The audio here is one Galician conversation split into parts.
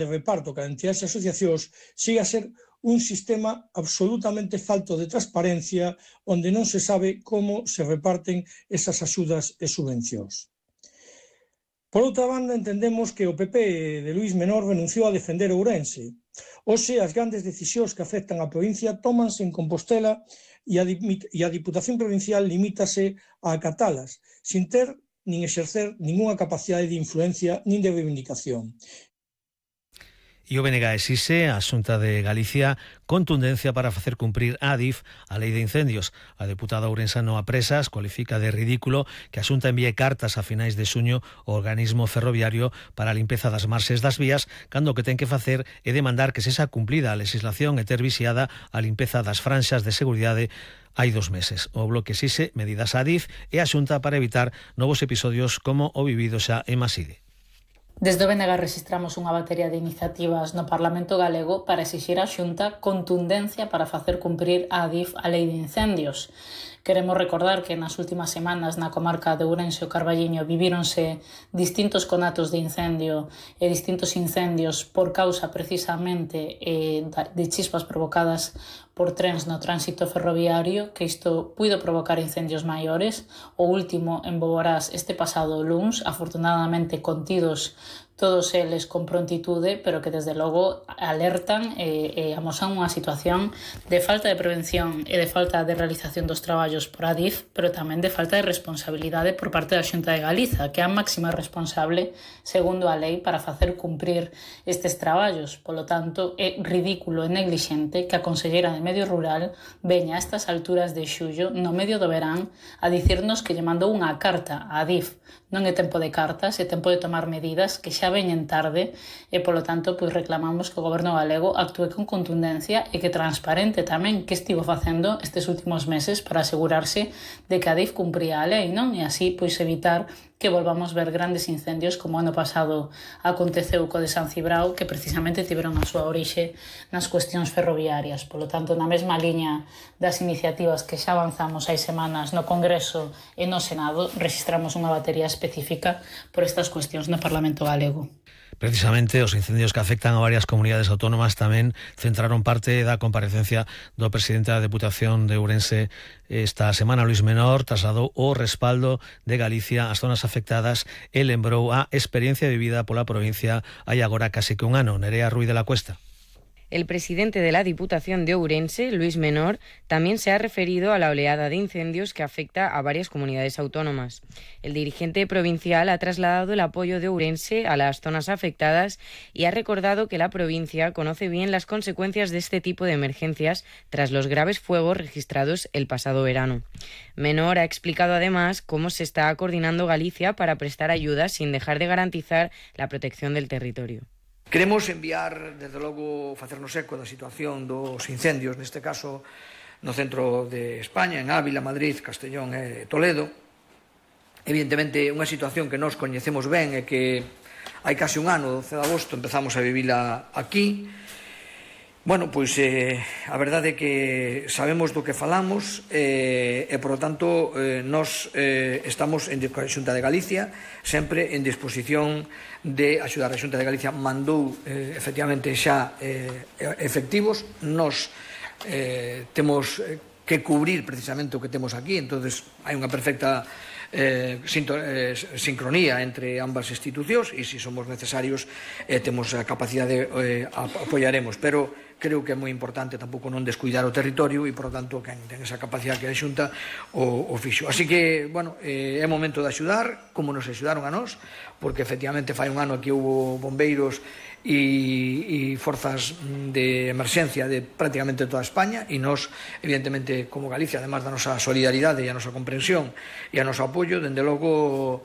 de reparto que entidades e asociacións siga a ser un sistema absolutamente falto de transparencia onde non se sabe como se reparten esas axudas e subvencións. Por outra banda, entendemos que o PP de Luís Menor renunciou a defender Ourense. Hoxe, as grandes decisións que afectan a provincia tómanse en Compostela e a Diputación Provincial limítase a acatalas, sin ter nin exercer ningunha capacidade de influencia nin de reivindicación. E o BNG exixe á Xunta de Galicia contundencia para facer cumprir a ADIF a Lei de Incendios. A deputada ourensana a Presas cualifica de ridículo que a Xunta envíe cartas a finais de xuño ao organismo ferroviario para a limpeza das marxes das vías, cando o que ten que facer é demandar que sexa cumplida a legislación e ter vixiada a limpeza das franxas de seguridade hai 2 meses. O Bloque exixe medidas a ADIF e a Xunta para evitar novos episodios como o vivido xa en Maside. Desde o BNG registramos unha batería de iniciativas no Parlamento galego para exixir á Xunta contundencia para facer cumprir a ADIF a Lei de Incendios. Queremos recordar que nas últimas semanas na comarca de Ourense e o Carballiño vivíronse distintos conatos de incendio e distintos incendios por causa precisamente de chispas provocadas por trens no tránsito ferroviario, que isto puido provocar incendios maiores. O último en Boborás este pasado luns, afortunadamente contidos todos eles con prontitude, pero que desde logo alertan e amosan unha situación de falta de prevención e de falta de realización dos traballos por ADIF, pero tamén de falta de responsabilidade por parte da Xunta de Galiza, que é a máxima responsable, segundo a lei, para facer cumprir estes traballos. Polo tanto, é ridículo e neglixente que a Conselleira de Medio Rural veña a estas alturas de xullo, no medio do verán, a dicirnos que lle mandou unha carta a ADIF. Non é tempo de cartas, é tempo de tomar medidas que xa veñen tarde e, polo tanto, pois reclamamos que o Goberno galego actúe con contundencia e que transparente tamén que estivo facendo estes últimos meses para asegurarse de que a DIF cumpría a lei, non? E así, pois, evitar que volvamos ver grandes incendios como ano pasado aconteceu co de San Cibrao, que precisamente tiveron a súa orixe nas cuestións ferroviarias. Polo tanto, na mesma liña das iniciativas que xa avanzamos hai semanas no Congreso e no Senado, registramos unha batería específica por estas cuestións no Parlamento galego. Precisamente os incendios que afectan a varias comunidades autónomas tamén centraron parte da comparecencia do presidente da Deputación de Ourense esta semana. Luís Menor trasladou o respaldo de Galicia ás zonas afectadas e lembrou a experiencia vivida pola provincia hai agora case que un ano. Nerea Ruiz de la Cuesta. El presidente de la Diputación de Ourense, Luís Menor, también se ha referido a la oleada de incendios que afecta a varias comunidades autónomas. El dirigente provincial ha trasladado el apoyo de Ourense a las zonas afectadas y ha recordado que la provincia conoce bien las consecuencias de este tipo de emergencias tras los graves fuegos registrados el pasado verano. Menor ha explicado además cómo se está coordinando Galicia para prestar ayuda sin dejar de garantizar la protección del territorio. Queremos enviar, desde logo, facernos eco da situación dos incendios, neste caso no centro de España, en Ávila, Madrid, Castellón e Toledo. Evidentemente, unha situación que nós coñecemos ben e que hai case un ano, 12 de agosto, empezamos a vivila aquí. Bueno, pois a verdade é que sabemos do que falamos e, por lo tanto, nós estamos en a Xunta de Galicia sempre en disposición de axudar. A Xunta de Galicia mandou efectivamente xa efectivos. Nós temos que cubrir precisamente o que temos aquí, entonces hai unha perfecta sincronía entre ambas institucións e se somos necesarios temos a capacidade apoiaremos, pero creo que é moi importante tampouco non descuidar o territorio e, por lo tanto, quen ten esa capacidade que a Xunta o fixo. Así que, bueno, é momento de axudar, como nos axudaron a nós, porque efectivamente fai un ano que houve bombeiros e forzas de emerxencia de prácticamente toda España e nós, evidentemente, como Galicia, además da nosa solidaridade e a nosa comprensión e a noso apoio, dende logo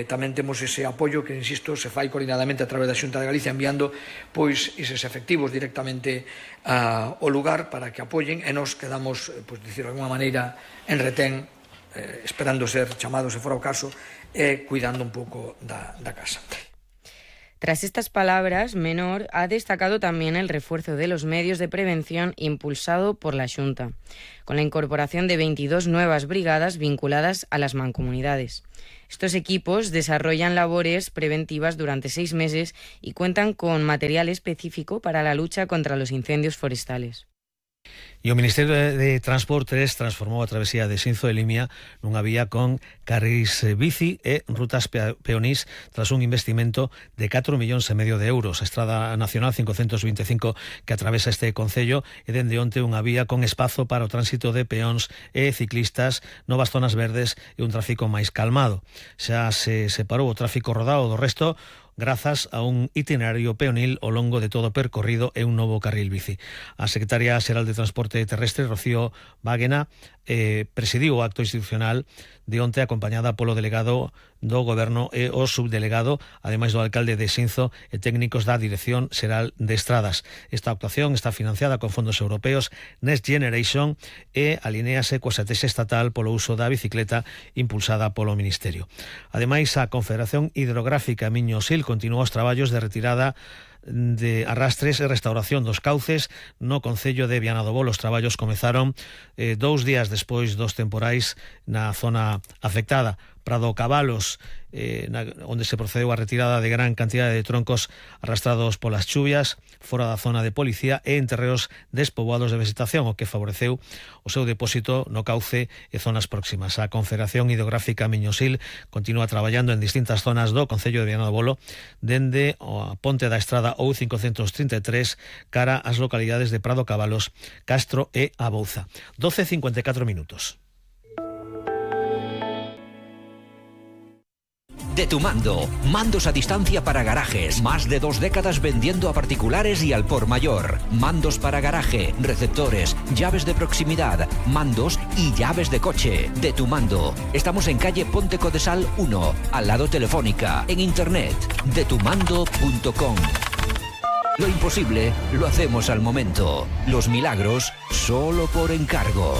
tamén temos ese apoio que, insisto, se fai coordinadamente a través da Xunta de Galicia enviando pois eses efectivos directamente ao lugar para que apoyen e nos quedamos, pois, dicir de alguma maneira, en retén esperando ser chamados se fora o caso e cuidando un pouco da casa. Tras estas palabras, Menor ha destacado también el refuerzo de los medios de prevención impulsado por la Xunta, con la incorporación de 22 nuevas brigadas vinculadas a las mancomunidades. Estos equipos desarrollan labores preventivas durante 6 meses y cuentan con material específico para la lucha contra los incendios forestales. E o Ministerio de Transportes transformou a travesía de Sinzo de Limia nunha vía con carrís bici e rutas peonís tras un investimento de 4,5 millóns de euros. A Estrada Nacional 525 que atravesa este concello e dende onte unha vía con espazo para o tránsito de peóns e ciclistas, novas zonas verdes e un tráfico máis calmado. Xa se separou o tráfico rodado do resto grazas a un itinerario peonil ao longo de todo o percorrido e un novo carril bici. A secretaria xeral de Transporte Terrestre, Rocío Báguena, presidiu o acto institucional de onte acompañada polo delegado do Goberno e o subdelegado, ademais do alcalde de Sinzo e técnicos da Dirección Xeral de Estradas. Esta actuación está financiada con fondos europeos Next Generation e alinéase coa estrategia estatal polo uso da bicicleta impulsada polo Ministerio. Ademais, a Confederación Hidrográfica Miño-Sil continuou os traballos de retirada de arrastres e restauración dos cauces no concello de Viana do Bolo. Os traballos comezaron 2 días despois dos temporais na zona afectada. Prado Cabalos, onde se procedeu a retirada de gran cantidade de troncos arrastrados polas chuvias fora da zona de policía e en terreos despoboados de vegetación, o que favoreceu o seu depósito no cauce e zonas próximas. A Confederación Hidrográfica Miño-Sil continúa traballando en distintas zonas do concello de Viana do Bolo, dende a ponte da estrada OU533 cara ás localidades de Prado Cabalos, Castro e Abouza. 12:54 minutos. De Tu Mando, mandos a distancia para garajes, más de 2 décadas vendiendo a particulares y al por mayor. Mandos para garaje, receptores, llaves de proximidad, mandos y llaves de coche. De Tu Mando. Estamos en calle Ponte Codesal 1, al lado Telefónica, en internet, detumando.com. Lo imposible lo hacemos al momento. Los milagros solo por encargo.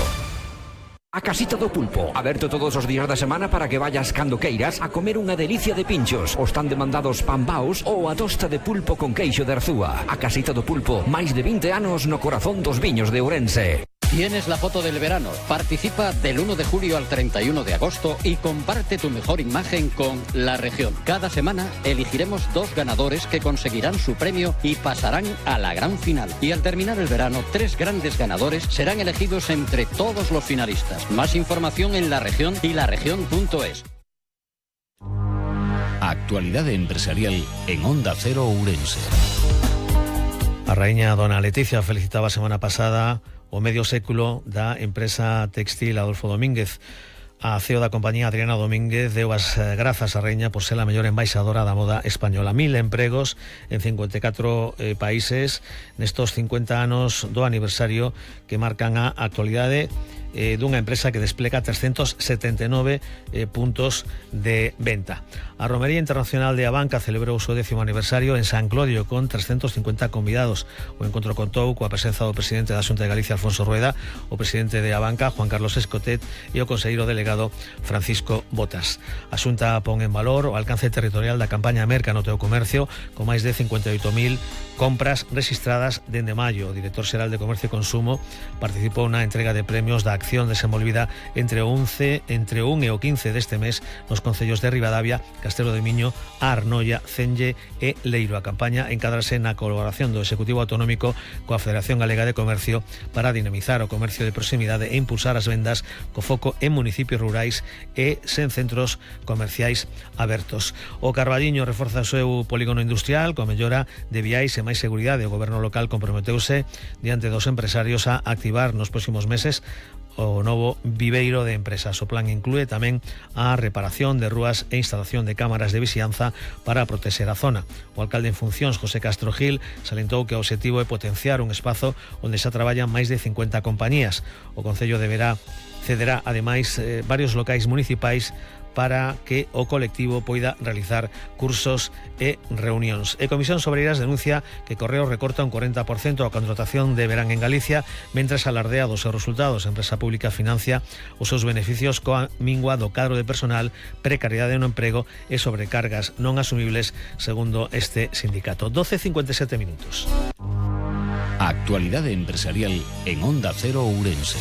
A Casita do Pulpo, aberto todos os días da semana para que vayas cando queiras a comer unha delicia de pinchos, os tan demandados pambaos ou a tosta de pulpo con queixo de Arzúa. A Casita do Pulpo, máis de 20 anos no corazón dos viños de Ourense. Tienes la foto del verano. Participa del 1 de julio al 31 de agosto y comparte tu mejor imagen con La Región. Cada semana elegiremos 2 ganadores que conseguirán su premio y pasarán a la gran final. Y al terminar el verano, 3 grandes ganadores serán elegidos entre todos los finalistas. Más información en La Región y laregion.es. Actualidad empresarial en Onda Cero Ourense. A raíña dona Leticia felicitaba a semana pasada o medio século da empresa textil Adolfo Domínguez. A CEO da compañía, Adriana Domínguez, deu as grazas á raíña por ser a mellor embaixadora da moda española. 1000 empregos en 54 países nestos 50 anos do aniversario que marcan a actualidade dunha empresa que desplega 379 puntos de venta. A Romería Internacional de Abanca celebrou o seu 10º aniversario en San Clodio con 350 convidados. O encontro contou coa presenza do presidente da Xunta de Galicia, Alfonso Rueda, o presidente de Abanca, Juan Carlos Escotet, e o conselleiro delegado Francisco Botas. A Xunta pon en valor o alcance territorial da campaña Merca no teu comercio, con máis de 58.000 compras registradas dende maio. O director xeral de Comercio e Consumo participou na entrega de premios da acción desenvolvida entre o 1 e o 15 deste mes nos concellos de Ribadavia, Castelo de Miño, Arnoia, Cenge e Leiro. A campaña encadrase na colaboración do Executivo Autonómico coa Federación Galega de Comercio para dinamizar o comercio de proximidade e impulsar as vendas co foco en municipios rurais e sen centros comerciais abertos. O Carballiño reforza o seu polígono industrial coa mellora de viais e máis seguridade. O goberno local comprometeuse diante dos empresarios a activar nos próximos meses o novo viveiro de empresas. O plan inclúe tamén a reparación de rúas e instalación de cámaras de vixianza para protexer a zona. O alcalde en funcións, José Castro Gil, salentou que o obxectivo é potenciar un espazo onde xa traballan máis de 50 compañías. O Concello cederá ademais varios locais municipais para que o colectivo poida realizar cursos e reunións. E Comisión Sobreiras denuncia que Correos recorta un 40% a contratación de verán en Galicia, mentres alardea dos seus resultados. A empresa pública financia os seus beneficios coa mingua do cadro de personal, precariedade no emprego e sobrecargas non asumibles, segundo este sindicato. 12:57 minutos. Actualidad empresarial en Onda Cero Ourense.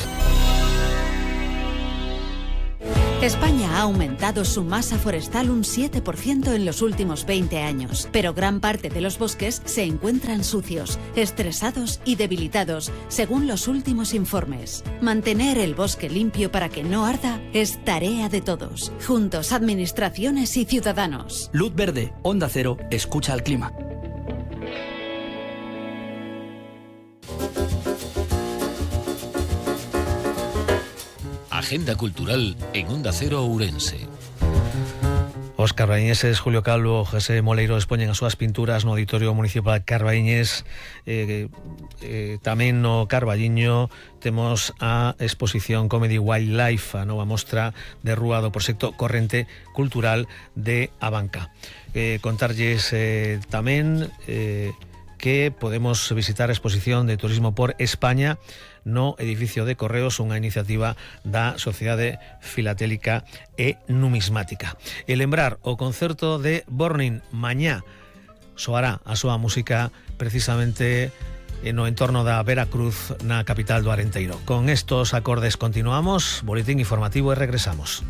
España ha aumentado su masa forestal un 7% en los últimos 20 años, pero gran parte de los bosques se encuentran sucios, estresados y debilitados, según los últimos informes. Mantener el bosque limpio para que no arda es tarea de todos, juntos administraciones y ciudadanos. Luz verde, Onda Cero, escucha al clima. Agenda cultural en Onda Cero Ourense. Os carbañeses Julio Calvo, José Moleiro expoñen as súas pinturas no Auditorio Municipal Carbañés. Tamén no Carballiño temos a exposición Comedy Wildlife, a nova mostra de rúa do proxecto Corrente Cultural de Abanca. Contarlles tamén que podemos visitar a exposición de Turismo por España no edificio de Correos, unha iniciativa da Sociedade Filatélica e Numismática. E lembrar o concerto de Burning mañá soará a súa música precisamente no entorno da Veracruz, na capital do Arenteiro. Con estos acordes continuamos, boletín informativo e regresamos.